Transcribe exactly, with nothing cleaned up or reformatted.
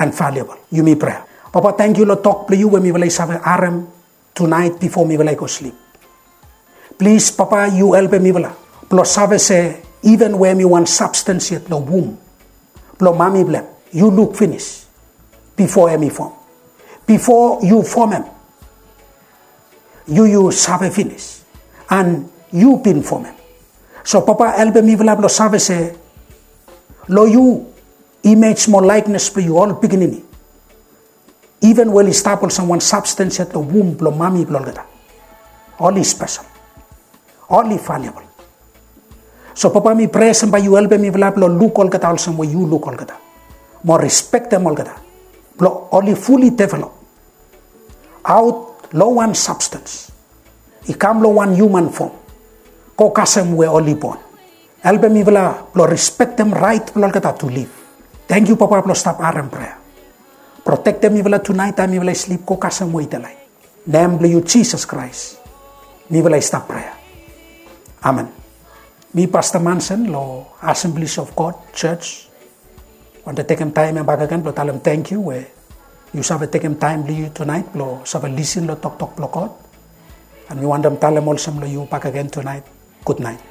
and valuable. Yumi prea. Papa, tangkiu long tok blong yu we mifala i save harem tunaet bifo mifala i go slip. Plis Papa, yu helpem mifala blong save se even we em i wan substance yet long wum blong mami blong em, yu luk finis bifo em i fom. Bifo yu fomem, yu yu save finis, and yu bin fomem. So Papa, helpem mifala blong save se long yu, image mo likeness blong yu, ol pikinini, even we oli stap olsem wan substance yet long wum blong mami blong olgeta, oli spesel, oli valuable. So Papa, mi prea se bae yu helpem mifala blong luk olgeta olsem we yu luk olgeta, mo respektem olgeta, blong oli fully develop aot long wan substance i kam long wan human fom, go kasem we oli bon. Helpem mifala blong respektem raet blong olgeta to liv. Tangkiu Papa blong stap harem prea. Protektem mifala tunaet taem mifala i slip, go kasem we i delaet. Nem blong yu Jisas Kraes mifala i stap prea. Amen. Mi Pasta Manson long Assemblies of God Church wantem tekem taem ya bakegen blong talem tangkiu we yu save tekem taem blong yu tunaet blong save lisin long toktok blong God. And mi wantem talem olsem long yu bakegen tunaet, gutnaet.